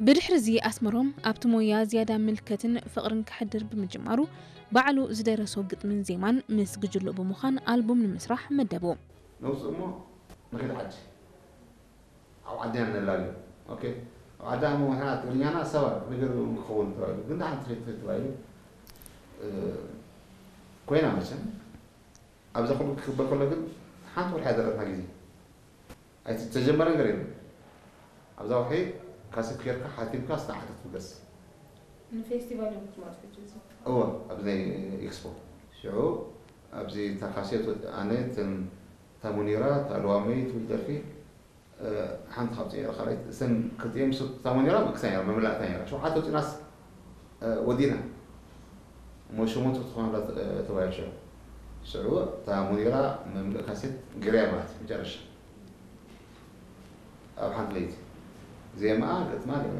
ብድሕሪ እዚ ኣስመሮም ኣብቲ ሞያ ዝያዳ ምልከትን ፍቕርን ከሕድር ብምጅማሩ፣ ባዕሉ ዝደረሶ ግጥምን ዜማን ምስ ግጅሉ ብምዃን ኣልቡም ንምስራሕ መደቡ። ነውፅእ እሞ ንኺድ ዓዲ። ኣብ ዓድና ነላልዮ። ኦኬ። ኣብ ዓድና እሞ ንሕና ትግርኛና ሰባ ነገር ክኸውን ተባሂሉ። ግን ደሓን ትኺድ ትኺድ ተባሂሉ። እ፣ ኮይና መቸም። ኣብዛ ኩሉ ክግበር ከሎ ግን ሓንቲ ወርሒ ያደረግና ግዜ። ኣይተጀመረ ነገር የለን። ኣብዛ ወርሒ ካሴት ጌርካ ሓቲምካ ስተ ዓዲ ትብገስ። ንፌስቲቫል እዮም ክትመፁ ሕጂ እዚ እወ፣ ኣብዚ ናይ ኤክስፖ። ሽዑ ኣብዚ እታ ካሴት ወጥ-፣ ኣነ፣ እተን፣ እታ ሙኒራ፣ እታ ልዋመይ ትብል ደርፊ፣ እ፣ ሓንቲ ካብ ጽየራ ካልኣይ፣ እተን ክልቲኤን ምስ-፣ እታ ሙኒራ መክሳ ነይራ፣ መመላእታ ነይራ። ሸውዓተ ወጺናስ፣ እ፣ ወዲና። እሞ ሸሞንተ ክትኾን ኣላ፣ እ፣ ተባሂሉ ሽዑ። ሽዑ እታ ሙኒራ መምልእ ካሴት ግርያ ማለት መጨረሻ። ኣብ ሓንቲ ለይቲ። ዜማኣ፣ ግጥማ፣ ገለ